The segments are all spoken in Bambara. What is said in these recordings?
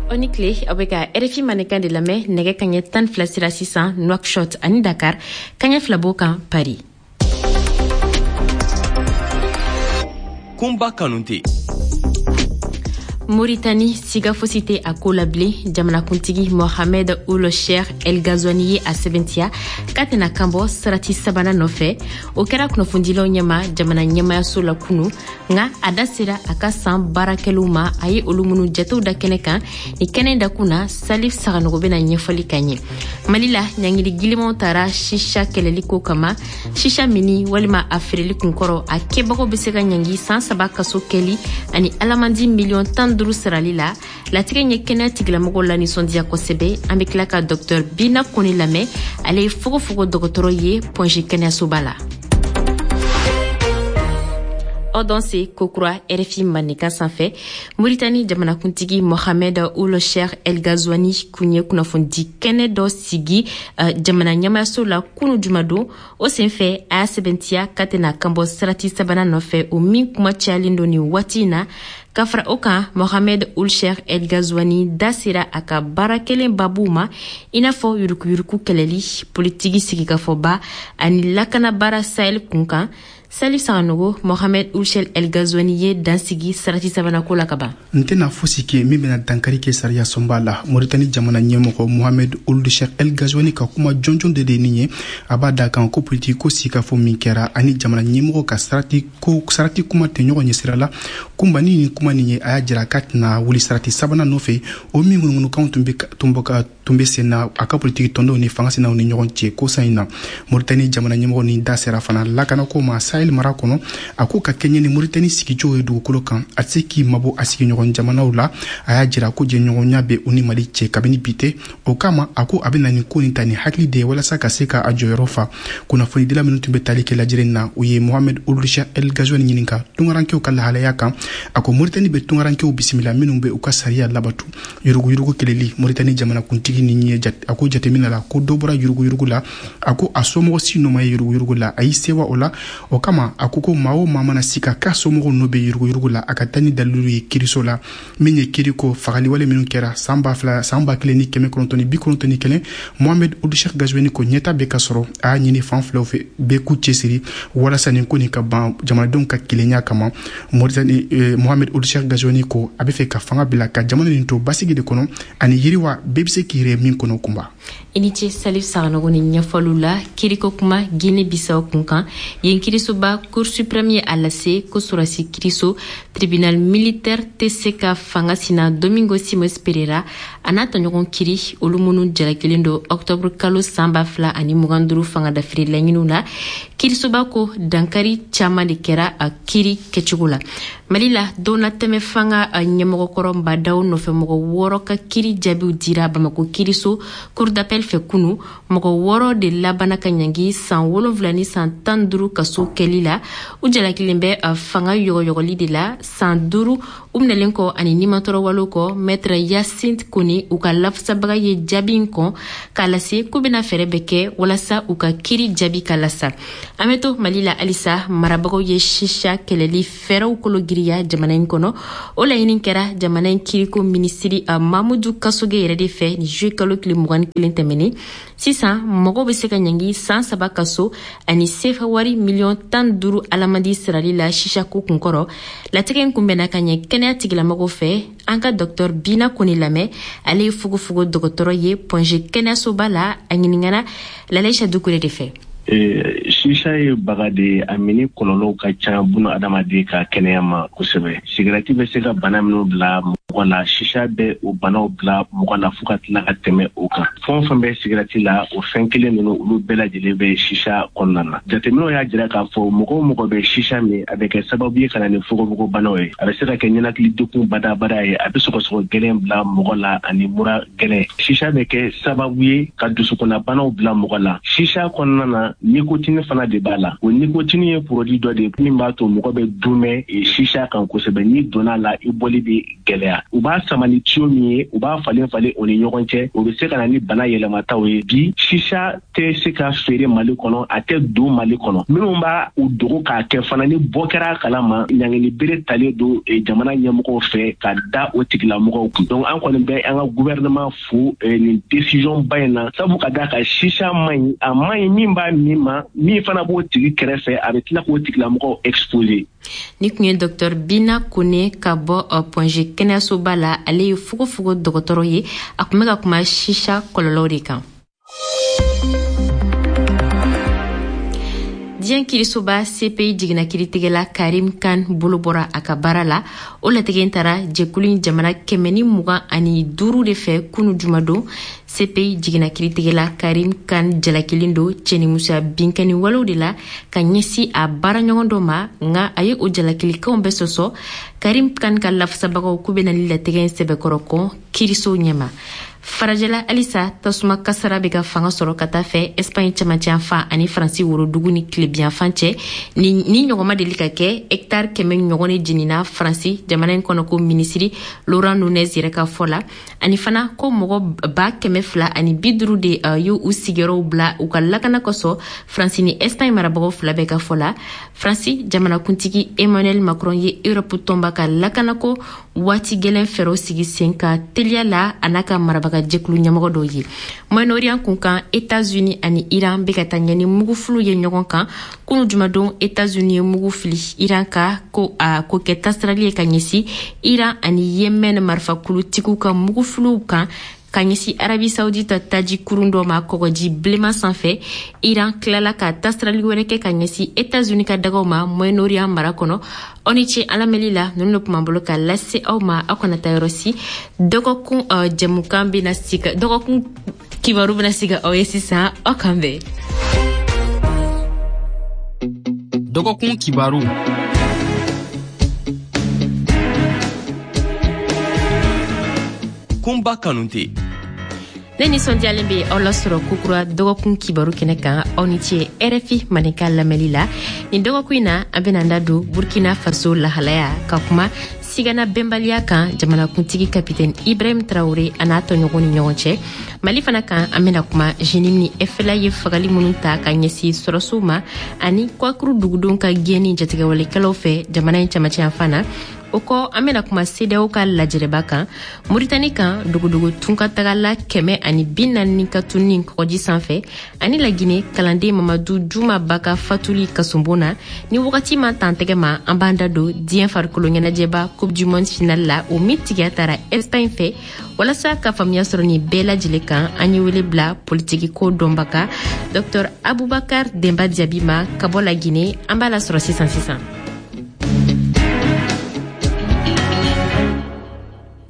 Aw ni tile, aw bɛ ka RFI Mandenkan de lamɛn. Nɛgɛ kaɲɛ 12 sera sisan Nouakchott ani Dakar, kaɲɛ 2 b'o kan Paris. Kunba Kanute. Moritani, siga fosi tɛ a ko la bilen. Jamanakuntigi Mohamed Ould Cheikh El Ghazouani ye a sɛbɛntiya k'a tɛna kanbɔ sarati sabanan nɔfɛ. O kɛra kunnafonidilaw ɲɛma jamana ɲɛmayaso la kunu, nka a da sera a ka san baarakɛliw ma, a ye olu minnu jatew da kɛnɛ kan. Ni kɛnɛ dakun na, Salif Saganogo bɛna ɲɛfɔli ka ɲɛ. Mali la, ɲangili gilimanw tara shisha kɛlɛli ko kama. Shisha mini walima a feereli kunkɔrɔ, a kɛbagaw bɛ se ka ɲangi san 3 kaso kɛli ani alamandi miliyɔn 15 sarali la. Latigɛ ye kɛnɛya tigilamɔgɔw la nisɔndiya kosɛbɛ. An bɛ tila ka dɔktɛr Bina Kone lamɛn, ale ye fogofogo dɔgɔtɔrɔ ye Point G kɛnɛyasoba la. Aw danse kokura RFI Mandenkan sanfɛ. Moritani jamanakuntigi Mohamed Ould Cheikh El Ghazouani kun ye kunnafonidi kɛnɛ dɔ sigi jamana ɲɛmayaso la kunu jumadon. O senfɛ, a y'a sɛbɛntiya k'a tɛna kanbɔ sarati sabanan nɔfɛ, o min kuma cayalen don nin waati in na. Ka fara o kan, Mohamed Ould Cheikh El Ghazouani da sera a ka baara kelen babuw ma, i n'a fɔ yurukuyuruku kɛlɛli, politiki sigikafɔba ani lakanabaara Sahel kun kan. Salif Saganogo, Mohamed Ould Cheikh El Ghazouani ye dansigi sarati sabanan ko la ka ban. N tɛna fosi kɛ min bɛna dankari kɛ sariya sunba la. Moritani jamana ɲɛmɔgɔ Mohamed Ould Cheikh El Ghazouani ka kuma jɔnjɔn de nin ye. A b'a da kan ko politiki ko sigikafɔ min kɛra ani jamana ɲɛmɔgɔ ka sarati kuma tɛ ɲɔgɔn ɲɛ sira la. Kunba ni nin kuma nin ye, a y'a jira k'a tɛna wuli sarati sabanan nɔfɛ, o min ŋunuŋunukanw tun bɛ sen na a ka politiki tɔndenw ni fanga sinaw ni ɲɔgɔn cɛ kosa in na. Moritani jamana ɲɛmɔgɔ ni da sera fana lakanako ma Sahel mara kɔnɔ. A ko ka kɛɲɛ ni Moritani sigicogo ye dugukolo kan, a tɛ se k'i mabɔ a sigiɲɔgɔn jamanaw la. A y'a jira ko jɛɲɔgɔnya bɛ u ni Mali cɛ kabini bi tɛ. O kama, a ko a bɛ na nin ko nin ta ni hakili de ye walasa ka se ka a jɔyɔrɔ fa. Kunnafonidila minnu tun bɛ tali kɛ lajɛrɛ in na, u ye Mohamed Ould Cheikh El Ghazouani ɲininka tunkarankew ka lahalaya kan. A ko Moritani bɛ tunkarankew bisimila minnu bɛ u ka sariya labatu. Yuruguyurugu kɛlɛli, Moritani jamanakuntigi ni ye a ko jateminɛ la ko dɔ bɔra yuruguyurugu la. A ko a somɔgɔ si nɔ ma ye yuruguyurugu la, a y'i sewa o la. O kama, a ko ko maa o maa mana sika k'a somɔgɔw nɔ bɛ yuruguyurugu la, a ka taa ni dalilu ye kiiriso la. Min ye kiiriko fagaliwale minnu kɛra san ba fila, san ba kelen ni kɛmɛ kɔnɔntɔn ni bi kɔnɔntɔn ni kelen, Mohamed Ould Cheikh Ghazouani ko ɲɛta bɛ ka sɔrɔ. A y'a ɲini fan filaw fɛ bɛɛ k'u cɛsiri walasa nin ko nin ka ban jamanadenw ka kelenya kama. Moritani, Mohamed Ould Cheikh Ghazouani ko a bɛ fɛ ka fanga bila ka jamana nin to basigi de kɔnɔ ani yiriwa bɛɛ bɛ se k'i yɛrɛ min kɔnɔ. Kunba. I ni ce Salif Saganogo ni ɲɛfɔliw la. Kiriko kuma Guinée Bissau kun kan, yen kirisoba Cour suprême ye a lase ko sɔrɔsi kiriso tribunal militaire tɛ se ka fanga sina Domingo Simões Pereira a n'a tɔɲɔgɔn kiri, olu minnu jalakilen don octobre kalo san 2025 fanga dafiri laɲiniw la. Kirisoba ko dankari caman de kɛra a kiri kɛcogo la. Mali la, donnatɛmɛ fanga ɲɛmɔgɔkɔrɔ Mbadaw nɔfɛ mɔgɔ 6 ka kiri jaabiw dira Bamako kiriso cour d'appel fɛ kunu. Mɔgɔ 6 de labana ka ɲangi san 7 ni san 15 kaso kɛli la. U jalakilen bɛ fanga yɔgɔyɔgɔli de la san 5 u minɛlen kɔ ani nimatɔrɔwalew kɔ. Maître Yacinthe Kone, u ka lafasabaga, ye jaabi in kɔn k'a lase k'u bɛna fɛɛrɛ bɛɛ kɛ walasa u ka kiri jaabi ka lasa. An bɛ to Mali la halisa. Marabagaw ye shisha kɛlɛli fɛɛrɛw kolo giriya jamana in kɔnɔ. O laɲini kɛra jamana in kiriko minisiri Mamudu Kasoge yɛrɛ de fɛ ni juillet kalo tile 21 tɛmɛnen. Sisan, mɔgɔw bɛ se ka ɲangi san 3 kaso ani sefa wari miliyɔn 15 alamandi sarali la sisako kunkɔrɔ. Latigɛ in kunbɛnna ka ɲɛ kɛnɛya tigilamɔgɔw fɛ. An ka dɔktɔr Bina Kone lamɛn, ale ye fogofogo dɔgɔtɔrɔ ye Point G kɛnɛyasoba la. A ɲininkana Lalaïcha Dukure de fɛ. Sisa ye baga de ye, a mini kɔlɔlɔw ka ca buna adamaden ka kɛnɛya ma kosɛbɛ. Sigɛrɛti bɛ se ka bana minnu bila mɔgɔ la, sisa bɛ o banaw bila mɔgɔ la fo ka tila ka tɛmɛ o kan. Fɛn o fɛn bɛ sigɛrɛti la, o fɛn kelen ninnu, olu bɛɛ lajɛlen bɛ sisa kɔnɔna na. Jateminɛw y'a jira k'a fɔ mɔgɔ o mɔgɔ bɛ sisa min, a bɛ kɛ sababu ye ka na ni fogofogobanaw ye. A bɛ se ka kɛ ɲɛnakili degun badabada ye, a bɛ sɔgɔsɔgɔ gɛlɛn bila mɔgɔ la ani mura gɛlɛn. Sisa bɛ kɛ sababu ye ka dusukunnabanaw bila mɔgɔ la. Sisa kɔnɔna na, nikotini fana de b'a la. O nikotini ye produit dɔ de ye min b'a to mɔgɔ bɛ dumɛ sisa kan kosɛbɛ. N'i donna a la, i bɔli bɛ gɛlɛya. la. U b'a sama ni tiyo min ye, u b'a falen falen o ni ɲɔgɔn cɛ, o bɛ se ka na ni bana yɛlɛmataw ye. Bi sisa tɛ se ka feere Mali kɔnɔ, a tɛ don Mali kɔnɔ. Minnu b'a u dogo k'a kɛ fana, ni bɔ kɛra a kalama, ɲangili bere talen don jamana ɲɛmɔgɔw fɛ ka da o tigilamɔgɔw kun. Donc an kɔni bɛ an ka gouvernement fo nin décision ba in na, sabu ka d'a kan sisa man ɲi, a man ɲi min b'a min ma, min fana b'o tigi kɛrɛfɛ, a bɛ tila k'o tigilamɔgɔw exposer. Ni tun ye Dr Bina Kone ka bɔ Point G kɛnɛyasoba la, ale ye fogofogo dɔgɔtɔrɔ ye. A tun bɛ ka kuma sisa kɔlɔlɔw de kan. Diɲɛ kirisoba CPI jiginna kiritigɛla Karim Khan bolo bɔra a ka baara la. O latigɛ in taara jɛkulu in jamana 125 de fɛ kunu jumadon. CPI jiginna kiritigɛla Karim Khan jalakilen don cɛnimusoya binkani walew de la ka ɲɛsin a baaraɲɔgɔn dɔ ma, nka a ye o jalakilikanw bɛɛ sɔsɔ. Karim Khan ka lafasabagaw k'u bɛna ni latigɛ in sɛbɛkɔrɔ kɔn kirisow ɲɛma. Farajɛla halisa, tasuma kasara bɛ ka fanga sɔrɔ ka taa fɛ Espagne cɛmancɛyanfan ani Faransi worodugu ni tilebiyanfan cɛ. Ni ɲɔgɔn ma deli ka kɛ, hectare 100 ɲɔgɔn de jenina Faransi jamana in kɔnɔ, ko minisiri Laurent Nunez yɛrɛ ka fɔ la. Ani fana ko mɔgɔ 250 de y'u sigiyɔrɔw bila u ka lakana kosɔn, Faransi ni Espagne marabagaw fila bɛɛ ka fɔ la. Faransi jamanakuntigi Emmanuel Macron ye Europe tɔnba ka lakanako waati gɛlɛn fɛɛrɛw sigi sen ka teliya la, a n'a ka marabaga jɛkulu ɲɛmɔgɔ dɔw ye. Moyen-Orient kun kan, États-Unis ani Iran bɛ ka taa ɲɛ ni mugufiliw ye ɲɔgɔn kan. Kunu jumadon, États-Unis ye mugu fili Iran ka ko a ko kɛ tasirali ye ka ɲɛsin Iran ani Yemen marifakulutigiw ka mugufiliw kan ka ɲɛsin Arabie Saoudite taji kurun dɔ ma kɔgɔji bilenman sanfɛ. Iran tilala ka tasirali wɛrɛ kɛ ka ɲɛsin États-Unis ka dagaw ma Moyen-Orient mara kɔnɔ. Aw ni ce alamɛli la, ninnu de tun b'an bolo ka lase aw ma. Aw kana taa yɔrɔ si, dɔgɔkun jɛmukan bɛna sigi, dɔgɔkun kibaru bɛna sigi aw ye sisan. Aw kan bɛn. Dɔgɔkun kibaru. Kunba Kanute. Ne nisɔndiyalen bɛ aw lasɔrɔ kokura dɔgɔkun kibaru kɛnɛ kan. Aw ni ce RFI Maninka lamɛnli la. Nin dɔgɔkun in na, an bɛna da don Burkina Faso lahalaya ka kuma sigana bɛnbaliya kan jamanakuntigi kapitɛni Ibrahim Traoré a n'a tɔɲɔgɔn ni ɲɔgɔn cɛ. Mali fana kan, an bɛna kuma JNIM ni FLA ye fagali minnu ta ka ɲɛsin sɔrɔsiw ma ani Kɔkuru dugudenw ka gɛnni jatigɛwalekɛlaw fɛ jamana in cɛmancɛyanfan na. O kɔ, an bɛna kuma CEDEAO ka lajɛrɛba kan. Moritani kan, dogodogo tunkatagala 140 ka tununi kɔgɔji sanfɛ, ani Lagine kalanden Mamadu Juma Ba ka fatuli kasobon na. Ni wagati ma tan tɛgɛ ma, an b'an da don diɲɛ farikolo ɲɛnajɛba Coupe du monde finale la, o min tigiya taara Espagne fɛ. Walasa ka faamuya sɔrɔ nin bɛɛ lajɛlen kan, an ye wele bila politiki ko dɔnbaga Dr Abubakar Demba Diaby ma ka bɔ Lagine. An b'a lasɔrɔ sisan sisan.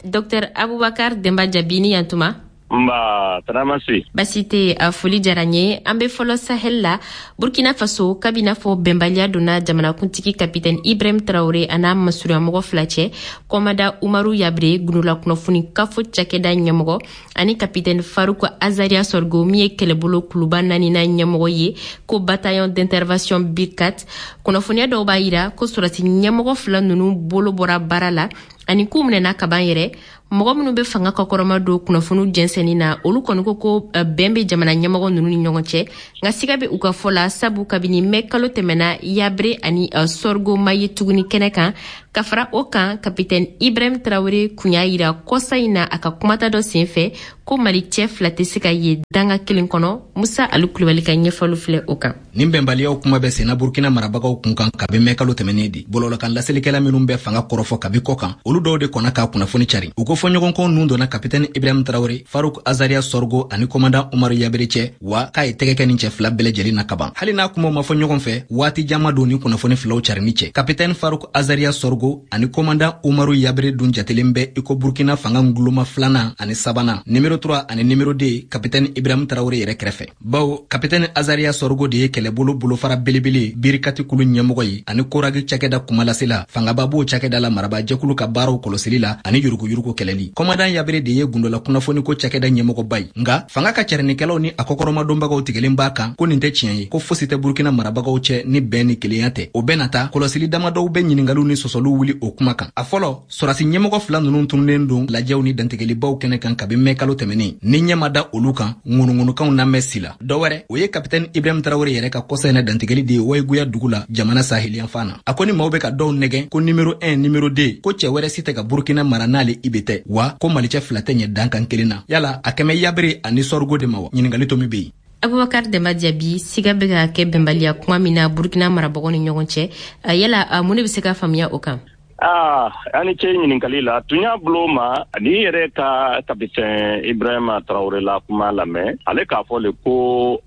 Dr Abubakar Demba Diaby, ni yantuma. Nba, taramasi. Basi tɛ, a foli diyara n ye. An bɛ fɔlɔ Sahel la, Burkina Faso, kabi n'a fɔ bɛnbaliya donna jamanakuntigi kapitɛni Ibrahim Traoré a n'a masurunyamɔgɔ fila cɛ, kɔmada Umaru Yabre, gundola kunnafoni kafo cakɛda ɲɛmɔgɔ, ani kapitɛni Farouk Azaria Sorgo, min ye kɛlɛbolo kuluba naaninan ɲɛmɔgɔ ye ko bataillon d'intervention B4. Kunnafoniya dɔw b'a yira ko sɔrɔsi ɲɛmɔgɔ fila ninnu bolo bɔra baara la ani k'u minɛna kaban yɛrɛ. Mɔgɔ minnu bɛ fanga kɔkɔrɔma don kunnafoniw jɛnsɛnni na, olu kɔni ko ko bɛn bɛ jamana ɲɛmɔgɔ ninnu ni ɲɔgɔn cɛ, nka siga bɛ u ka fɔ la, sabu kabini mɛ kalo tɛmɛna, Yabre ani Sorgo ma ye tuguni kɛnɛ kan. Ka fara o kan, kapitɛni Ibrahim Traoré kun y'a yira kɔsa in na a ka kumata dɔ senfɛ ko Mali cɛ fila tɛ se ka ye danga kelen kɔnɔ. Musa Alu Kulubali ka ɲɛfɔli filɛ o kan. Nin bɛnbaliyaw kuma bɛ senna Burkina marabagaw kun kan kabi mɛ kalo tɛmɛnen di. Bɔlɔlɔkan laselikɛla minnu bɛ fanga kɔrɔfɔ kabi kɔ kan, olu dɔw de kɔnna k'a kunnafoni cari. U ko fɔɲɔgɔnkɔ ninnu donna kapitɛni Ibrahim Traoré, Farouk Azaria Sorgo ani commandant Umaru Yabere cɛ, wa k'a ye tɛgɛ kɛ nin cɛ fila bɛɛ lajɛlen na kaban. Hali n'a kumaw ma fɔ ɲɔgɔn fɛ, waati jan don ni kunnafoni filaw carinni cɛ. Kapitɛni Farouk Azaria Sorgo ani commandant Umaru Yabere dun jatelen bɛ i ko Burkina fanga nguloma filanan ani sabanan, numéro 3 ani numéro 2, kapitɛni Ibrahim Traoré yɛrɛ kɛrɛfɛ. Bawo kapitɛni Azaria Sorgo de ye kɛlɛbolo bolofara belebele Birikati kulu ɲɛmɔgɔ ye ani Koragi cakɛda kumalasela, fangaba b'o cakɛda la marabajɛkulu ka baaraw kɔlɔsili la ani yuruguyurugu kɛlɛli. kɛlɛli. Kɔmadan Yabere de ye gundola kunnafoniko cakɛda ɲɛmɔgɔba ye, nka fanga ka carinikɛlaw ni a kɔkɔrɔmadonbagaw tigɛlen b'a kan ko nin tɛ tiɲɛ ye, ko fosi tɛ Burkina marabagaw cɛ ni bɛn ni kelenya tɛ. O bɛɛ na ta, kɔlɔsili damadɔw bɛ ɲiningaliw ni sɔsɔliw wuli o kuma kan. A fɔlɔ, sɔrɔdasi ɲɛmɔgɔ fila ninnu tununnen don lajɛw ni dantigɛlibaw kɛnɛ kan kabi mɛ kalo tɛmɛnen. Ni ɲɛ ma da olu kan, ŋunuŋunukanw na mɛn si la. Dɔ wɛrɛ, o ye kapitɛni Ibrahim Tarawele yɛrɛ ka kɔsa in na dantigɛli de ye Wayiguya dugu la, jamana saheliyanfan na. A ko ni maaw bɛ ka dɔw nɛgɛn ko numéro 1, numéro 2, ko cɛ wɛrɛ si tɛ ka Burkina mara n'ale Ibe tɛ, wa ko malicɛ fila tɛ ɲɛ dankan kelen na. Yala a kɛmɛ Yabere ani Sɔrigo de ma wa? Ɲiningali tomi bɛ yen. Abubakar Demba Jaabi, siga bɛ ka kɛ bɛnbaliya kuma min na Burkina marabagaw ni ɲɔgɔn cɛ, yala mun de bɛ se ka faamuya o kan? Aa, ani ce ɲininkali la. Tun y'a bolo ma n'i yɛrɛ ka kapitɛn Ibrahima Tarawele la kuma lamɛn, ale k'a fɔ le ko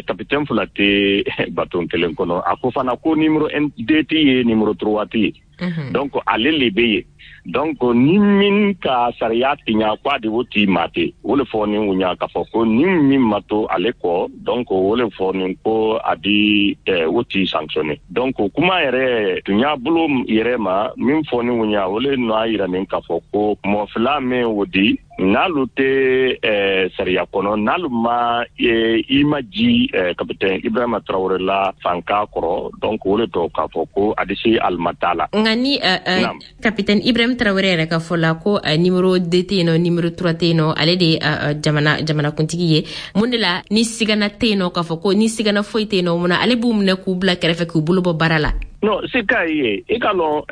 kapitɛn fila tɛ baton kelen kɔnɔ. A ko fana ko numéro 2 tɛ ye, numéro 3 tɛ ye. Donc ale le bɛ yen. Donc ni min ka sariya tiɲa, ko a de o t'i ma ten. O le fɔ ni o ɲa k'a fɔ ko ni min ma to ale kɔ, donc o le fɔ nin ko a di o t'i sanctionné. Donc kuma yɛrɛ tun y'a bolo yɛrɛ ma min fɔ ni o ɲa, o le nɔ a yira nin k'a fɔ ko mɔgɔ fila min o di, n'alu tɛ sariya kɔnɔ, n'alu ma i ma ji kapitɛn Ibrahima Traoré la fanka kɔrɔ, donc o le tɔ k'a fɔ ko a di se alimata la. Nka ni kapitɛn Ibrahim Traoré yɛrɛ ka fɔ la ko numéro 2 tɛ yen nɔ, numéro 3 tɛ yen nɔ, ale de ye jamana kuntigi ye, mun de la ni sigana tɛ yen nɔ, k'a fɔ ko ni sigana foyi tɛ yen nɔ, mun na ale b'u minɛ k'u bila kɛrɛfɛ, k'u bolo bɔ baara la? Non, se k'a ye, i ka lɔn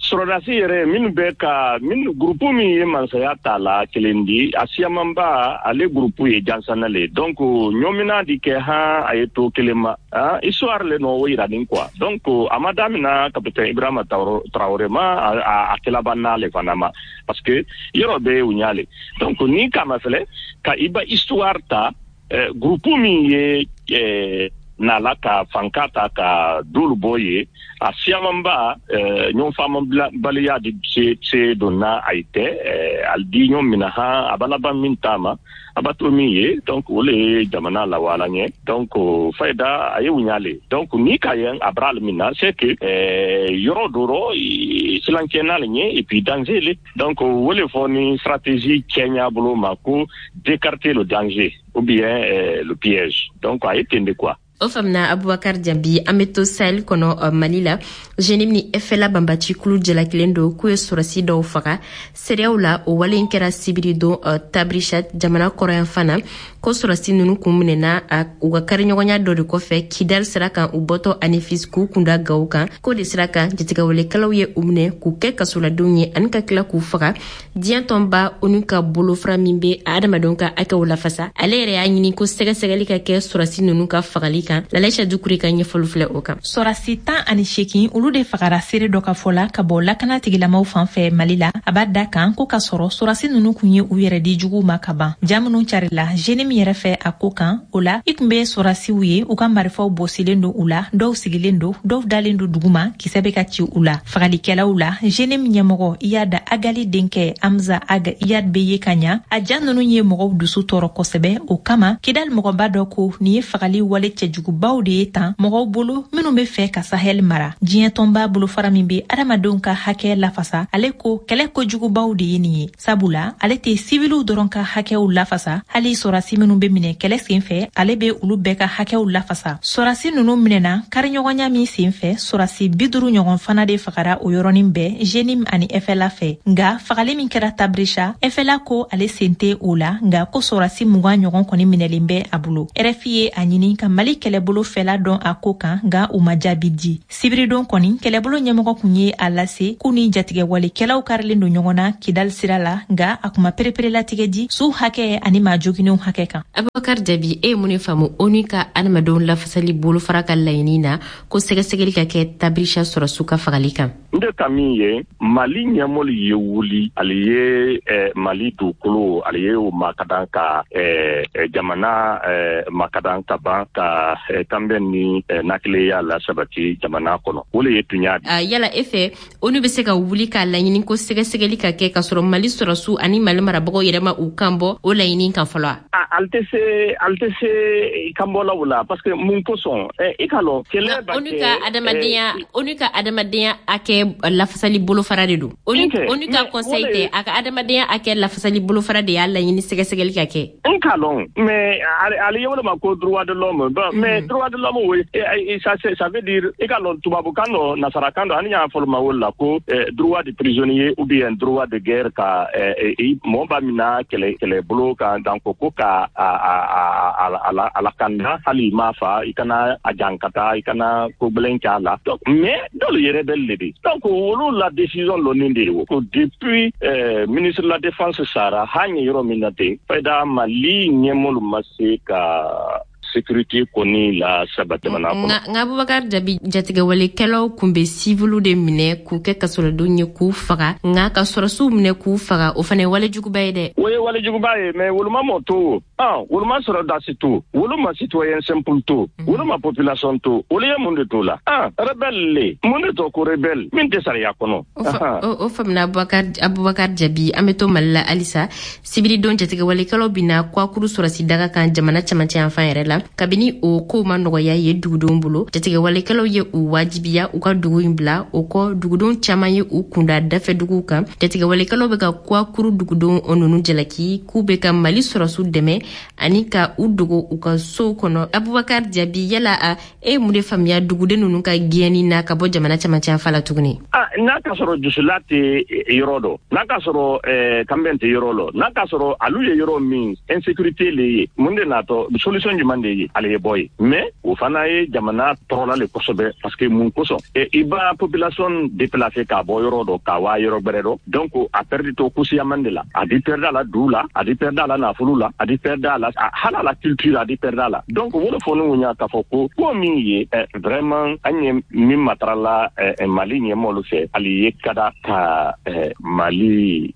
sɔrɔdasi yɛrɛ minnu bɛ ka minnu groupe min ye mansaya ta la kelen di, a siyamanba ale groupe ye jansana le. Donc ɲɔmina di kɛ han, a ye to kelen ma, ah, histoire le nɔ o yira nin quoi. Donc a ma damina capitaine Ibrahima Traoré ma, a kɛlaba n'ale fana ma, parce que yɔrɔ bɛ u ɲale. Donc ni kama filɛ ka i ba histoire ta, groupe min ye nala ka fanka ta ka dolu bɔ ye, a siyamanba ɲɔgɔn faamabaliya de se donna a ye tɛ ali di ɲɔgɔn mina han, a b'a laban min ta ma, a b'a to min ye. Donc o le ye jamana lawala ɲɛ. Donc fayida a ye u ɲale. Donc ni ka ye a bara min na, c'est que yɔrɔ dɔ rɔ silancɛ n'ale ɲɛ et puis danger le. Donc o le fɔ ni stratégie cɛɲa bolo ma ko d'écarter le danger ou bien le piège. Donc a ye ten de quoi. O faamuna, Abubakar Jabi. An be to Sahel kɔnɔ, Mali la, JNIM ni FLA banbaci kulu jalakilen don k'u ye sɔrɔsi dɔw faga seereyaw la. O wale in kɛra sibiri don Tabrichat, jamana kɔrɔyanfan na. Ko sɔrɔsi nunu kun minɛna u ka kariɲɔgɔnya dɔ de kɔfɛ Kidal sira kan, u bɔtɔ Anefis k'u kunda Gawo kan. K'o de sira kan, jatigɛwalekɛlaw ye u minɛ k'u kɛ kasoladenw ye ani ka tila k'u faga. Diɲɛ tɔnba ONU ka bolofara min be adamadenw ka hakɛw lafasa, ale yɛrɛ y'a ɲini ko sɛgɛsɛgɛli ka kɛ sɔrɔsi nunu ka fagali kan. Lalaisa Dukure ka ɲɛfɔli filɛ o kan. Sɔrasi 18, olu de fagara seere dɔ ka fɔ la ka bɔ lakana tigilamaw fan fɛ Mali la. A b'a da kan ko k'a sɔrɔ sɔrasi nunu kun ye u yɛrɛ di juguw ma ka ban. Ja minnu carila JNIM yɛrɛ fɛ a ko kan, o la i kun be sɔrasiw ye, u ka marifaw bɔsilen don u la, dɔw sigilen don, dɔw dalen don duguma, kisɛ bɛ ka ci u la. Fagalikɛlaw la, JNIM ɲɛmɔgɔ Iyad Ag Ghali denkɛ Hamza Ag Iyad be ye ka ɲa. A ja nunu ye mɔgɔw dusu tɔɔrɔ kosɛbɛ. O kama, Kidal mɔgɔba dɔ ko nin ye fagali wale cɛjugubaw de ye tan mɔgɔw bolo minnu be fɛ ka Sahel mara. Diɲɛ tɔnba bolofara min be adamadenw ka hakɛ lafasa, ale ko kɛlɛ kojugubaw de ye nin ye, sabula ale tɛ siviliw dɔrɔn ka hakɛw lafasa, hali sɔrasi minnu be minɛ kɛlɛ sen fɛ, ale be olu bɛɛ ka hakɛw lafasa. Sɔrasi nunu minɛna kariɲɔgɔnya min sen fɛ, sɔrasi 50 ɲɔgɔn fana de fagara o yɔrɔnin bɛɛ JNIM ani FLA fɛ. Nga fagali min kɛra Tabrisa, FLA ko ale sen tɛ o la, nga ko sɔrasi 20 ɲɔgɔn kɔni minɛlen bɛ a bolo. RFI ye a ɲini ka Mali kɛlɛbolo fɛla dɔn a ko kan, nga u ma jaabi di. Sibiridon kɔni, kɛlɛbolo ɲɛmɔgɔ kun ye a lase k'u ni jatigɛwalekɛlaw karilen don ɲɔgɔn na Kidal sira la, nga a kuma pereperelatigɛ di su hakɛ ani maa joginenw hakɛ kan. Abubakar Jabi, e ye mun de faamu ONU ka adamadenw lafasali bolofara ka laɲini na ko sɛgɛsɛgɛli ka kɛ Tabrisa sɔrɔsiw ka fagali kan? N de ka min ye, Mali ɲɛmɔlu ye wuli, ale ye Mali dugukolo, ale ye o makadan ka jamana makadan ka ban ka ka kanbɛn ni nakilenya la sabati jamana kɔnɔ. O le ye tunya. Yala e fɛ, ONU bɛ se ka wuli k'a laɲini ko sɛgɛsɛgɛli ka kɛ, k'a sɔrɔ Mali sɔrɔsiw ani Mali marabagaw yɛrɛ ma u kan bɔ o laɲini kan fɔlɔ? Ale tɛ se kanbɔlaw la, parce que mun kosɔn? I ka lɔn, kɛlɛ ba. ONU ka adamadenya hakɛ lafasali bolofara de don. ONU ka conseil tɛ, a ka adamadenya hakɛ lafasali bolofara de y'a laɲini sɛgɛsɛgɛli ka kɛ. N k'a lɔn, mais ale ye ma ko droit de l'homme. Bon, mais droit de l'homme, oui, ça veut dire, i ka lɔn, tubabukan dɔ, nasarakan dɔ, ani y'a fɔ ma o la ko droit de prisonnier ou bien droit de guerre, ka mɔgɔ b'a mina kɛlɛ kɛlɛbolo kan, donc ko ka a lakanda, hali i m'a fa, i kana a jankata, i kana ko gbɛlɛn k'a la. Donc, mais dɔlu ye rebelle le de. Donc olu la décision lɔnnen de ye ko depuis ministre de la Défense sara, han ye yɔrɔ min na ten fayida, Mali ɲɛmɔlu ma se ka sécurité kɔni la sabati jamana kɔnɔ. Nka Abubakar Jabi, jatigɛwalekɛlaw kun bɛ siviliw de minɛ k'u kɛ kasoladenw ye k'u faga, nka ka sɔrɔsiw minɛ k'u faga, o fana ye walejuguba ye dɛ. O ye walejuguba ye, mais wolu ma mɔ to, wolu ma sɔrɔdasi to, wolu ma citoyen simple to, wolu ma population to, olu ye mun de to la? Rebelle le, mun de to ko rebelle min tɛ sariya kɔnɔ. O faamuna, Abubakar Jabi. An bɛ to Mali la halisa. Sibiridon, jatigɛwalekɛlaw bina Kwakuru sɔrɔsi daga kan jamana camancɛ yanfan yɛrɛ la. Kabini o kow ma nɔgɔya ye dugudenw bolo, jatigɛwalekɛlaw ye u wajibiya u ka dugu in bila. O kɔ, dugudenw caaman ye u kunda dafɛ duguw kan. Jatigɛwalekɛlaw bɛ ka Kwakuru dugudenw nunu jalaki k'u bɛ ka Mali sɔrɔsiw dɛmɛ ani ka u dogo u ka sow kɔnɔ. Abubakar Jabi, yala a e ye mun de faamuya duguden nunu ka gɛnni na ka bɔ jamana camancɛ yanfan la tuguni? N'a ka sɔrɔ jusula tɛ yɔrɔ dɔ, n'a ka sɔrɔ kanbɛn tɛ yɔrɔ lɔ, n'a ka sɔrɔ alu ye yɔrɔ min insécurité le ye, mun de natɔ, solution jumɛn de ye ale ye bɔ ye? Mais o fana ye jamana tɔɔrɔla le kosɛbɛ, parce que mun kosɔn? I b'a population déplacer k'a bɔ yɔrɔ dɔ k'a waa yɔrɔ gbɛrɛ dɔ, donc a perdu to kusiyaman de la, a di perdu a la du la, a di perdu a la nafolo la, a di perdu a la hali a la culture, a di perdu a la. Donc o de fɔ ne ɲa k'a fɔ ko min ye vraiment, an ye min matarala Mali ɲɛmɔgɔlu fɛ, hali ye kada ka Mali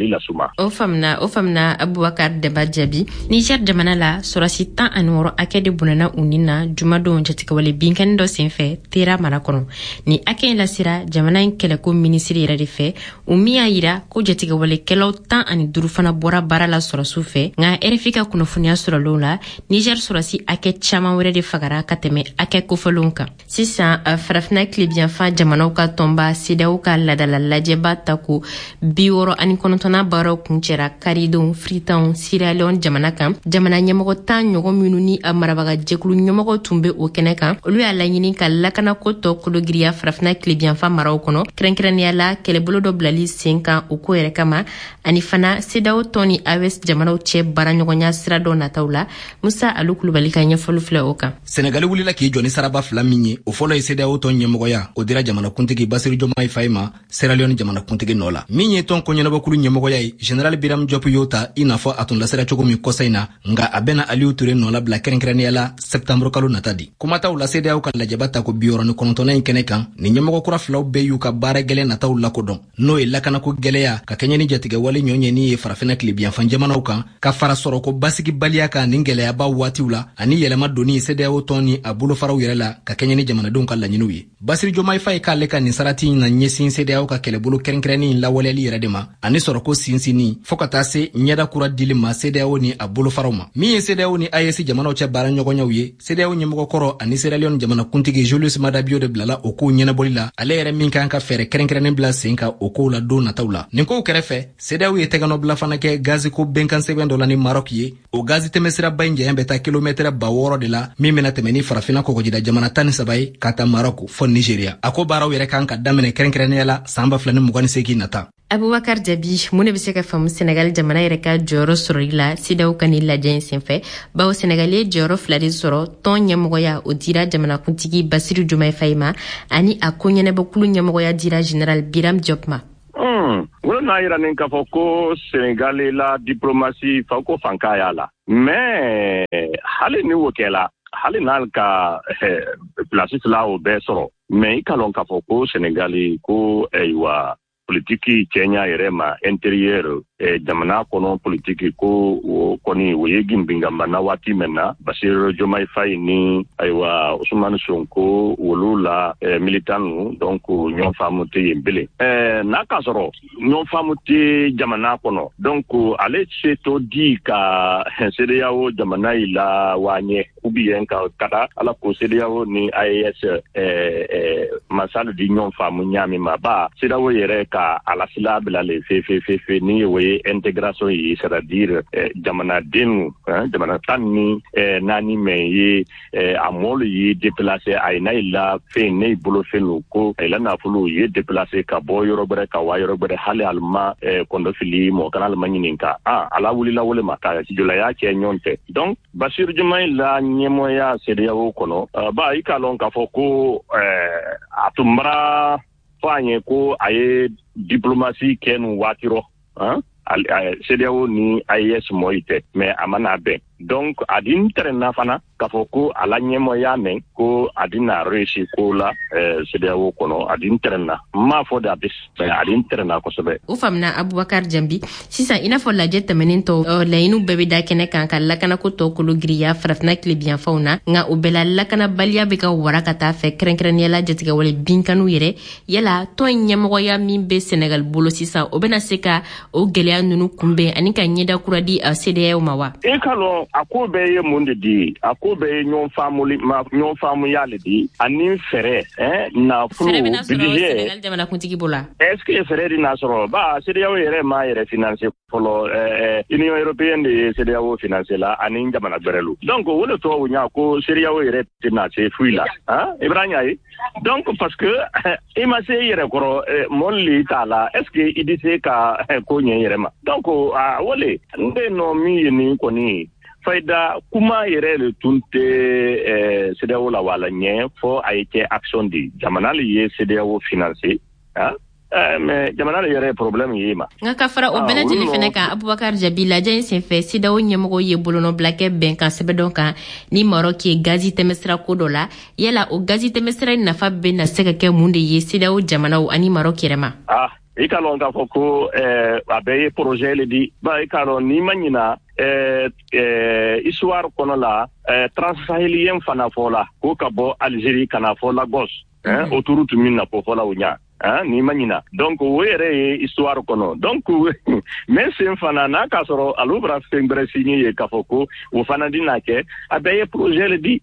lasuma. O faamuna, o faamuna, Abubakar Daba Jaabi. Niger jamana la, sɔrɔsi 16 hakɛ de bɔnɛna u ni na jumadon jatigɛwale binkani dɔ senfɛ Tera mara kɔnɔ. Ni hakɛ in lasera jamana in kɛlɛko minisiri yɛrɛ de fɛ, o min y'a yira ko jatigɛwalekɛlaw 15 fana bɔra baara la sɔrɔsiw fɛ. Nka RFI ka kunnafoniya sɔrɔlenw la, Niger sɔrɔsi hakɛ caaman wɛrɛ de fagara ka tɛmɛ hakɛ kofɔlenw kan. Sisan, Farafina tilebiyanfan jamanaw ka tɔnba CEDEAO ka ladala lajɛba tako 69nan baaraw kuncɛra karidon Freetown, Sierra Leone jamana kan. Jamana ɲɛmɔgɔ 10 ɲɔgɔn minnu ni a marabaga jɛkulu ɲɛmɔgɔ tun bɛ o kɛnɛ kan, olu y'a laɲini ka lakanako tɔ kologiriya Farafina tilebiyanfan maraw kɔnɔ, kɛrɛnkɛrɛnnenya la kɛlɛbolo dɔ bilali sen kan o ko yɛrɛ kama, ani fana CEDEAO tɔn ni AES jamanaw cɛ baaraɲɔgɔnya sira dɔ nataw la. Musa Alu Kulubali ka ɲɛfɔli filɛ o kan. Senegali wulila k'i jɔ ni saraba fila min ye, o fɔlɔ ye CEDEAO tɔn ɲɛmɔgɔya, o dira jamanakuntigi Basiru Jomayi Fayi ma Sierra Leone jamanakuntigi nɔ la. Min ye tɔn koɲɛnabɔkulu ɲɛmɔgɔya ye, général Biram Diop y'o ta, i n'a fɔ a tun lasera cogo min kɔsa in na, nka a bɛna Aliyu Ture nɔ labila kɛrɛnkɛrɛnnenya la sɛptanburu kalo nata di. Kumataw la, CEDEAO ka lajɛba tako 69nan in kɛnɛ kan, nin ɲɛmɔgɔ kura filaw bɛɛ y'u ka baara gwɛlɛn nataw lakodɔn, n'o ye lakanako gwɛlɛya ka kɛɲɛ ni jatigɛwale ɲɔɲɛni ye Farafina tilebiyanfan jamanaw kan, ka fara sɔrɔko basigibaliya kan nin gwɛlɛyaba waatiw la, ani yɛlɛma donni CEDEAO tɔn ni a bolofaraw yɛrɛ la ka kɛɲɛ ni jamanadenw ka laɲiniw ye. Basiru Jomayi Fayi k'ale ka nin sarati in na ɲɛsin CEDEAO ka kɛlɛbolo kɛrɛnkɛrɛnnin lawaleyali yɛrɛ de ma, ani sɔrɔko sinsinni, fɔɔ ka taa se ɲɛda kura dili ma CEDEAO ni a bolofaraw ma. Min ye CEDEAO ni AES jamanaw cɛ baara ɲɔgɔnyaw ye, CEDEAO ɲɛmɔgɔkɔrɔ ani Sierra Leone jamanakuntigi Julius Maada Bio de bilala o kow ɲɛnabɔli la, ale yɛrɛ min kan ka fɛɛrɛ kɛrɛnkɛrɛnnen bila sen kan o kow la don nataw la. Nin kow kɛrɛfɛ, CEDEAO ye tɛgɛnɔbila fana kɛ gaziko bɛnkan sɛbɛn dɔ la ni Maroc ye. O gazi tɛmɛsiraba in janya bɛ taa kilomɛtɛrɛ 6000 de la, min bɛna tɛmɛ ni Farafina kɔgɔjida jamana 13 ye, ka ta Maroc fɔ Nigeria. A ko baaraw yɛrɛ kan ka daminɛ kɛrɛnkɛrɛnnenya la saan 2028 nata. Abubakar Jabi, mun de bɛ se ka faamu Senegal jamana yɛrɛ ka jɔyɔrɔ sɔrɔli la CEDEAO ka nin lajɛ in senfɛ, bawo Senegal ye jɔyɔrɔ fila de sɔrɔ? Tɔn ɲɛmɔgɔya, o dira jamanakuntigi Basiru Jomayi Fayi ma, ani a ko ɲɛnabɔkulu ɲɛmɔgɔya dira général Biram Diop ma. Wolo n'a yira nin k'a fɔ ko Senegal la diplomatie fa ko fanka y'a la, mais hali ni o kɛla, hali n'ale ka place fila o bɛɛ sɔrɔ, mais i ka lɔn k'a fɔ ko Senegali ko ayiwa. Politiki cɛɲa yɛrɛ ma intérieur, jamana kɔnɔ politiki ko, o kɔni o ye ginbinganbana waati min na, Basiru Diomaye Faye ni ayiwa Ousmane Sonko, wolu la militant nu, donc ɲɔgɔn faamu tɛ yen bilen. N'a k'a sɔrɔ ɲɔgɔn faamu tɛ jamana kɔnɔ, donc ale se to di ka CEDEAO jamana yi la waa ɲɛ, ou bien ka kada ala ko CEDEAO ni AES masalu di ɲɔgɔn faamu ɲaami ma ba CEDEAO yɛrɛ ka a la sila bila le fe fe fe fe ni o ye intégration ye, c'est à dire jamanadenw, jamana 14 mɛn ye a mɔlu ye déplacé, a ye n'a la fɛn ne bolo fɛn ko a la nafolo ye déplacé ka bɔ yɔrɔ gbɛrɛ ka wa yɔrɔ gbɛrɛ, hali alima kɔndɔ fili mɔgɔ kana alima ɲininka a ala wulila wole ma ka jolaya kɛ ɲɔgɔn tɛ. Donc Basiru Diomaye la ɲɛmɔgɔya CEDEAO kɔnɔ ba, i k'a lɔn k'a fɔ ko a tun bara fɔ an ye ko a ye diplomatie kɛ nin waati rɔ CEDEAO ni AES mɔyi tɛ, mais a ma n'a bɛn. Donc a di tɛrɛnna fana k'a fɔ ko a la ɲɛmɔgɔya mɛn ko a di na réussi ko la CEDEAO kɔnɔ. A di tɛrɛnna, n m'a fɔ de a bɛ, mais a di tɛrɛnna kosɛbɛ. O faamuna, Abubakar Jambi. Sisan, i n'a fɔ lajɛ tɛmɛnen tɔ, laɲiniw bɛɛ bɛ da kɛnɛ kan ka lakanako tɔ kolo giriya Farafinna tilebiyanfanw na, nka o bɛɛ la lakanabaliya bɛ ka wara ka taa fɛ, kɛrɛnkɛrɛnnenya la jatigɛwale binkaniw yɛrɛ. Yala tɔn in ɲɛmɔgɔya min bɛ Senegal bolo sisan, o bɛna se ka o gɛlɛya ninnu kunbɛn ani ka ɲɛda kura di CEDEAO ma wa? E ka lɔn, a ko bɛɛ ye mun de di? A ko bɛɛ ye ɲɔgɔn faamuli ma, ɲɔgɔn faamuya le di ani fɛɛrɛ nafolo. Budget Senegal jamanakuntigi bolo. Est ce que fɛɛrɛ di n'a sɔrɔ ba CEDEAO yɛrɛ m'a yɛrɛ financer fɔlɔ? Union européenne de ye CEDEAO financer la ani jamana gbɛrɛlu. Donc o le tɔgɔ ɲa ko CEDEAO yɛrɛ tɛna se foyi la i bɛra ɲa ye. Donc parce que i ma se i yɛrɛ kɔrɔ, mɔli le t'a la, est ce que i di se ka ko ɲɛ i yɛrɛ ma? Donc a o le n bɛ nɔ min ye nin kɔni fayida kuma yɛrɛ le tun tɛ CEDEAO la wala ɲɛ fɔ a ye kɛ action di. Jamana le ye CEDEAO financer, mais jamana le yɛrɛ ye problème ye ma. Nka ka fara o bɛɛ lajɛlen fɛnɛ kan, Abubakar Jabi, lajɛ in senfɛ, CEDEAO ɲɛmɔgɔw ye bolonɔbila kɛ bɛnkan sɛbɛn dɔ kan ni Maroc ye gazi tɛmɛsira ko dɔ la. Yala o gazi tɛmɛsira in nafa bɛ na se ka kɛ mun de ye CEDEAO jamanaw ani Maroc yɛrɛ ma? Ah, i ka lɔn k'a fɔ ko a bɛɛ ye projet le di ba. I ka lɔn, n'i ma ɲina histoire kɔnɔ la, transsahélien fana fɔ la ko ka bɔ Algérie ka na fɔ Lagos, autoroute min na ko fɔla o ɲa n'i ma ɲina. Donc o yɛrɛ ye histoire kɔnɔ. Donc mais sen fana n'a k'a sɔrɔ alu bara fɛn gbɛrɛ signé ye k'a fɔ ko o fana di n'a kɛ, a bɛɛ ye projet le di.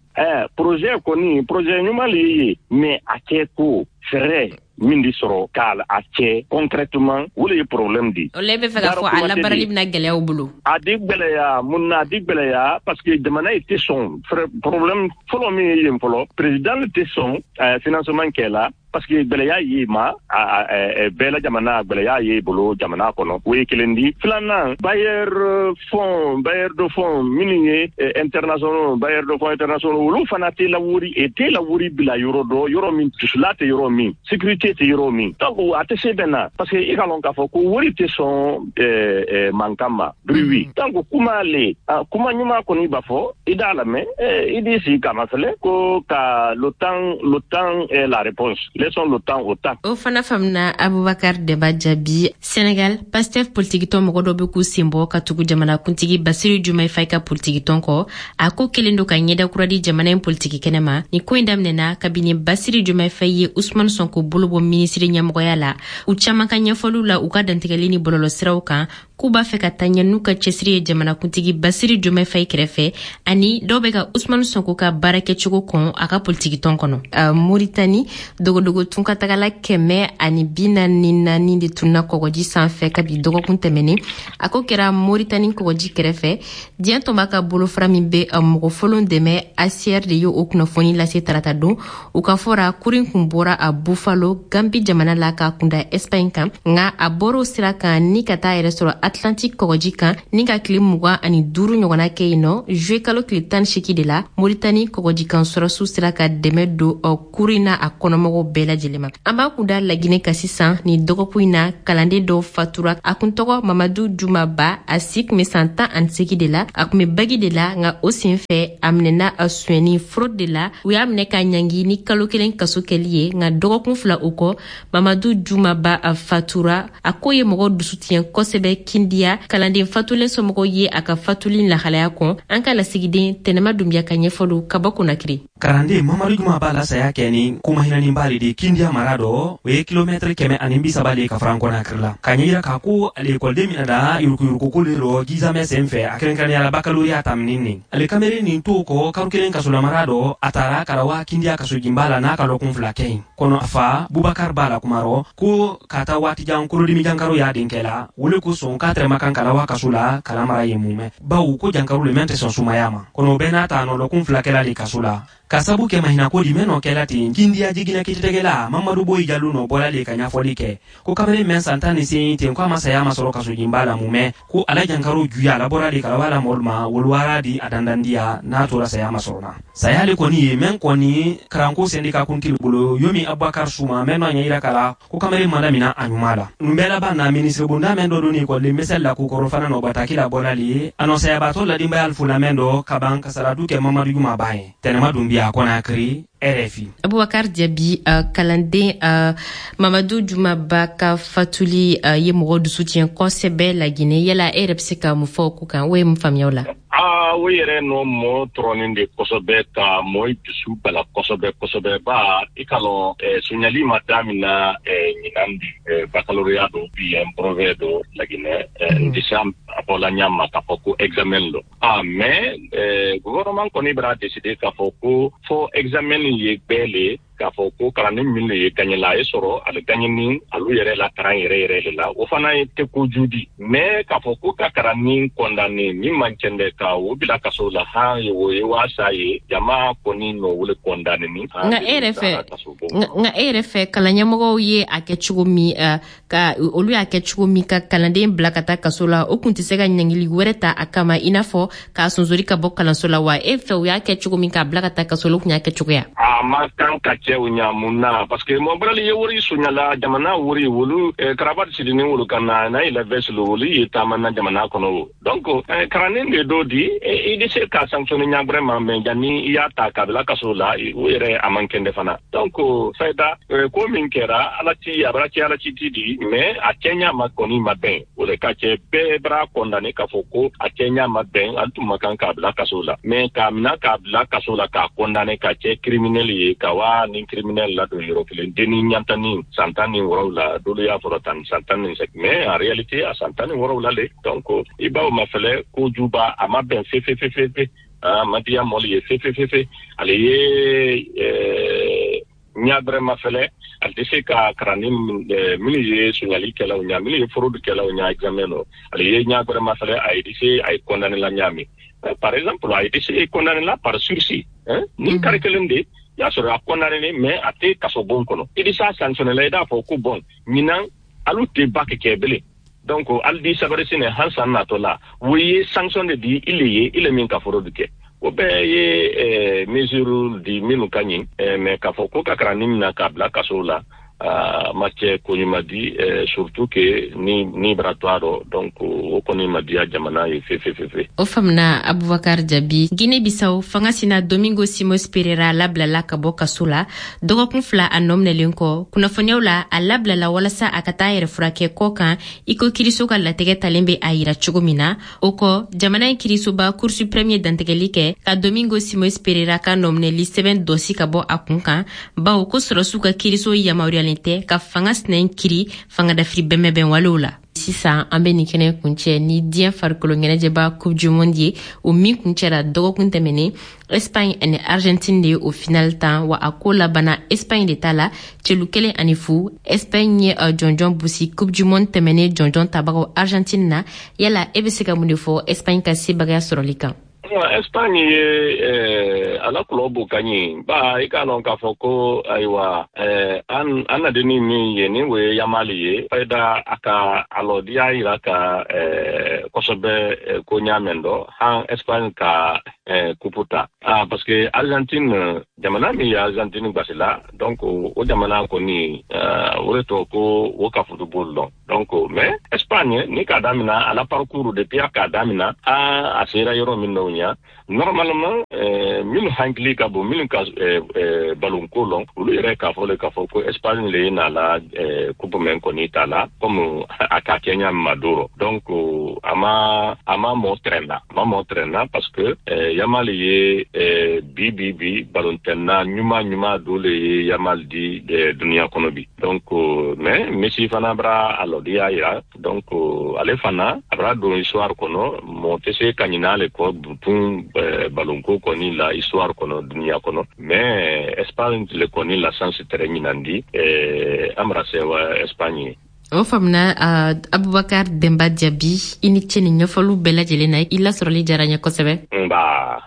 Projet kɔni, projet ɲuman le ye, mais a kɛ ko fɛɛrɛ min di sɔrɔ k'a a kɛ concrètement, o le ye problème di. O la, e bɛ fɛ k'a fɔ a labaarali bɛna gɛlɛya u bolo? A di gɛlɛya. Mun na a di gɛlɛya? Parce que jamana yi tɛ sɔn. Problème fɔlɔ min ye yen fɔlɔ, président tɛ sɔn financement kɛ la, parce que gwɛlɛya ye ma bɛɛ la jamana, gwɛlɛya ye bolo jamana kɔnɔ, o ye kelen di. Filanan, bailleur fonds, bailleur de fonds minnu ye internationaux, bailleur de fonds internationaux, olu fana tɛ la wori e tɛ la wori bila yɔrɔ dɔ, yɔrɔ min dusula tɛ, yɔrɔ min sécurité tɛ, yɔrɔ min. Donc a tɛ se bɛn na, parce que i ka lɔn k'a fɔ ko wori tɛ sɔn mankan ma bruit. Donc kuma le, kuma ɲuman kɔni b'a fɔ, i d'a lamɛn, i b'i sigi k'a mafɛlɛ ko ka le temps, le temps est la réponse. Laissons le temps au temps. O fana faamuna, Abubakar Deba Jaabi. Senegal, Pastef politikitɔn mɔgɔ dɔ bɛ k'u sen bɔ ka tugu jamanakuntigi Basiru Diomaye Faye ka politikitɔn kɔ. A ko kelen do ka ɲɛda kura di jamana in politiki kɛnɛ ma. Nin ko in daminɛna kabini Basiru Diomaye Faye ye Usman Sonko bolo bɔ minisiri ɲɛmɔgɔya la. U caaman ka ɲɛfɔliw la, u ka dantigɛli ni bɔlɔlɔsiraw kan, k'u b'a fɛ ka taa ɲɛ n'u ka cɛsiri ye jamanakuntigi Basiru Diomaye Faye kɛrɛfɛ, ani dɔw bɛ ka Usman Sonko ka baara kɛcogo kɔn a ka politikitɔn kɔnɔ. Moritani, dogodogo tunkatagala 144 de tunna kɔgɔji sanfɛ kabi dɔgɔkun tɛmɛnen. A ko kɛra Moritani kɔgɔji kɛrɛfɛ. Diɲɛ tɔnba ka bolofara min bɛ mɔgɔ folon dɛmɛ, ACR de ye o kunnafoni lase tarata don. U ka fɔra, kurin kun bɔra a Buffalo, Gambi jamana la, ka kunda Espagne kan, nka a bɔr'o sira kan ni ka taa yɛrɛ sɔrɔ. Atlantique kɔgɔji kan ni ka tile 25 ɲɔgɔnna kɛ yen nɔ. Juillet kalo tile 18 de la, Moritani kɔgɔjikan sɔrɔsiw sera ka dɛmɛ don kurun in na a kɔnɔmɔgɔw bɛɛ lajɛlen ma. An b'a kunda Lagine kan sisan. Ni dɔgɔkun in na, kalanden dɔw fatura. A kun tɔgɔ Mamadu Juma Ba, a si kun bɛ san 18 de la, a kun bɛ bagi de la, nka o sen fɛ a minɛna a sonyɛni fraude de la. U y'a minɛ ka ɲangi ni kalo 1 kaso kɛli ye, nka dɔgɔkun 2 o kɔ, Mamadu Juma Ba a fatura. A ko ye mɔgɔ dusu tiɲɛ kosɛbɛ Kindiya. Kalanden fatulen somɔgɔw ye a ka fatuli lahalaya kɔn. An ka lasigiden Tɛnɛma Dunbiya ka ɲɛfɔliw ka bɔ Konakiri. Kalanden Mamadu Juma Ba la saya kɛ ni komahinaniba le di Kindiya mara dɔ, o ye kilomɛtɛrɛ 130 le ka faran Kɔnakiri la, k'a ɲɛyira k'a ko ale ekɔliden min da yurukuyurukuko le rɔ examen sen fɛ, a kɛrɛnkɛrɛnnenya la bakaloriya taminin nin. Ale kameren nin to kɔ karo 1 kasolamara dɔ, a taara ka wa Kindiya kasojinba la n'a ka lɔkun 2 kɛ yen kɔnɔ. A fa Bubakar b'a la kuma rɔ ko ka taa waati jan kolodimi jankaro y'a denkɛ la, wole kosɔn k'a tɛrɛ ma kan ka lawa kaso la kalan mara yen mumɛ, bawo ko jankaro le mɛn tɛ sɔn sumaya ma kɔnɔ. O bɛɛ n'a ta, nɔ lɔkun 2 kɛla le kaso la ka sabu kɛ mahinako di mɛn nɔ kɛla ten. Kindiya jiginɛ kiiritigɛla Mamadu Boyi Jalo nɔ bɔla le ka ɲɛfɔli kɛ ko kamalen mɛn san 18 ten, ko a ma saya ma sɔrɔ kasojinba la mumɛ, ko ala jankaro juya a labɔra le ka lawa la mɔlu ma woluwara di a dandandiya n'a tora saya ma sɔrɔ na. Saya le kɔni ye mɛn kɔni karanko sɛndika kuntigi bolo yomi Abubakar Suma mɛn nɔ ɲɛ yira ka la ko kamalen ma damina a ɲuman la. Nin bɛɛ laban na, minisiri bonda mɛn dɔ don ni ekɔliden misɛli la ko kɔrɔ fana nɔ bataki la bɔla le a nɔ sayabatɔ ladinbaya fola mɛn dɔ ka ban kasaratu kɛ Mamadu Juma Ba ye. Tɛnɛma Dunbiya, Kɔnakiri, RFI. Abubakar Jabi, kalanden Mamadu Juma Ba ka fatuli ye mɔgɔ dusu tiɲɛ kosɛbɛ Laginɛ. Yala e yɛrɛ bɛ se ka mun fɔ o ko kan? O ye mun faamuya o la? Aa, o yɛrɛ nɔ mɔ tɔrɔnin de kosɛbɛ, ka mɔ dusu bala kosɛbɛ kosɛbɛ, ba i ka lɔn sonyali ma damina ɲinan di. Baccalauréat do bien brevet do Laginɛ, n tɛ se a bɔla ɲa ma k'a fɔ ko examen do. Ah, mais gouvernement kɔni bɛna décider k'a fɔ ko fo examen ye bɛɛ le, k'a fɔ ko kalanden min le ye gagné la, a ye sɔrɔ ale gagné ni alu yɛrɛ la karan yɛrɛ yɛrɛ de la, o fana ye tɛ kojugu di. Mais k'a fɔ ko ka kalan condamné min man cɛn dɛ, ka o bila kaso la, han, o ye waasa ye jama kɔni nɔ wele condamné ni. Nka e yɛrɛ fɛ, kalan ɲɛmɔgɔw ye a kɛ cogo min, ka olu y'a kɛ cogo min ka kalanden bila ka taa kaso la, o kun tɛ se ka ɲangili wɛrɛ ta a kama, i n'a fɔ k'a sonsori ka bɔ kalanso la wa? E fɛ, u y'a kɛ cogo min k'a bila ka taa kaso la, o kun y'a kɛ cogoya? A ma kan ka cɛ o ɲa. Mun na? Parce que mɔbɔrali ye wari soɲala jamana wari, wolu karabati sidini wolu ka na n'a ye la veste lo, wolu ye taama na jamana kɔnɔ o. Donc karannen de dɔ di, i bɛ se ka sanctionner ɲa gbɛrɛ ma, mais janni i y'a ta k'a bila kaso la, o yɛrɛ a man kɛnɛ fana. Donc fayida ko min kɛra, ala ci a bara ci, ala ci ti di, mais a cɛɲa ma kɔni ma bɛn. O de ka cɛ bɛɛ bara condamné k'a fɔ ko a cɛɲa ma bɛn, an tun ma kan k'a bila kaso la. Mais k'a mina k'a bila kaso la, k'a condamné ka cɛ criminel ye, ka wa ni criminel ladon yɔrɔ kelen, denni ɲantani san 17, dolu y'a fɔra tan san 18, mais en réalité a san 17 le. Donc i b'aw mafɛlɛ kojuba, a ma bɛn fefefefefe, a ma diya mɔli ye fefefefe. Ale ye ɲa bɛrɛ mafɛlɛ, ale tɛ se ka kalanden minnu ye sonyali kɛlaw ɲa, minnu ye fraude kɛlaw ɲa examen nɔ, ale ye ɲa bɛrɛ mafɛlɛ, a ye se a ye condamné la ɲa min. Par exemple, a ye se condamné la par sursis ni kari kelen de y'a sɔrɔ a condamné, mais a tɛ kaso bon kɔnɔ. I bɛ s'a sanctionné la, i b'a fɔ ko bon, ɲinan alu tɛ bac kɛ bilen, donc hali di sabari sini han san natɔ la, o ye sanction de di ile ye, ile min ka fraude kɛ. O bɛɛ ye mesure di minnu ka ɲi, mais k'a fɔ ko ka kalan minɛ k'a bila kaso la, ma cɛ ko ɲuman di, surtout que ni bara to a rɔ. Donc o kɔni ma diya jamana ye fefefefe. O faamuna, Abubakar Jabi. Guinée Bissau, fanga sina Domingo Simos Pereira labilala ka bɔ kaso la dɔgɔkun 2 a nɔ minɛlen kɔ. Kunnafoniyaw la, a labilala walasa a ka taa yɛrɛ furakɛ kɔ kan, i ko kiriso ka latigɛ talen bɛ a yira cogo min na. O kɔ, jamana in kirisoba Cour suprême ye dantigɛli kɛ ka Domingo Simos Pereira ka nɔminɛli sɛbɛn dɔsi ka bɔ a kun kan, bawo ko sɔrɔsiw ka kiriso yamaruyalen tɛ ka fanga sina in kiri fangadafiri bɛnbɛnbɛnwalew la. Sisan an bɛ nin kɛnɛ kuncɛ ni diɲɛ farikolo ɲɛnajɛba Coupe du monde ye, o min kuncɛra dɔgɔkun tɛmɛnen. Espagne ani Argentine de ye o final tan wa, a ko labanna Espagne de ta la celu 1-0. Espagne ye jɔnjɔn busi Coupe du monde tɛmɛnen jɔnjɔn tabagaw Argentine na. Yala e bɛ se ka mun de fɔ Espagne ka sebagaya sɔrɔli kan? Espagne ye ala club ka ɲi ba i k'a lɔn k'a fɔ ko ayiwa an na denni min ye ni o ye Yamali ye fayida a ka a lɔdiya yira ka kosɛbɛ ko ɲa mɛn dɔ han Espagne ka kupu ta parce que Argentine jamana min ye Argentine gbasila, donc o jamana kɔni o de tɔ ko o ka football lɔn. Donc mais Espagne ni k'a damina a la parcours depuis a k'a damina a sera yɔrɔ min dɔ ɲa, normalement minnu hakili ka bon, minnu ka ballon ko lɔn, olu yɛrɛ k'a fɔ le k'a fɔ ko Espagne le ye n'a la coupe mɛn kɔni ta la comme a ka kɛ ɲa ma do rɔ. Donc a ma mɔ tɛrɛn na, a ma mɔ tɛrɛn na parce que Yamal ye bi bi bi ballon-tɛnna ɲuman dɔ le ye Yamal di dunuya kɔnɔ bi. Donc mais Messi fana bara a lɔdiya yira, donc ale fana a bara don histoire kɔnɔ, mɔgɔ tɛ se ka ɲinɛ ale kɔ butun ballon ko kɔni la histoire kɔnɔ dunuya kɔnɔ. Mais Espagne le kɔni la chance tɛrɛ ɲinandi an bara sewa Espagne ye. O faamuna. Abubakar Demba Jabi, i ni ce ni ɲɛfɔliw bɛɛ lajɛlen na, i lasɔrɔli diyara n ye kosɛbɛ. Nba.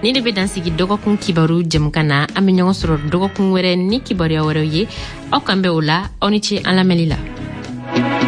Ni de bɛ dan sigi dɔgɔkun kibaru jɛmukan na. An bɛ ɲɔgɔn sɔrɔ dɔgɔkun wɛrɛ ni kibaruya wɛrɛw ye. Aw kan bɛ o la. Aw ni ce an lamɛnli la.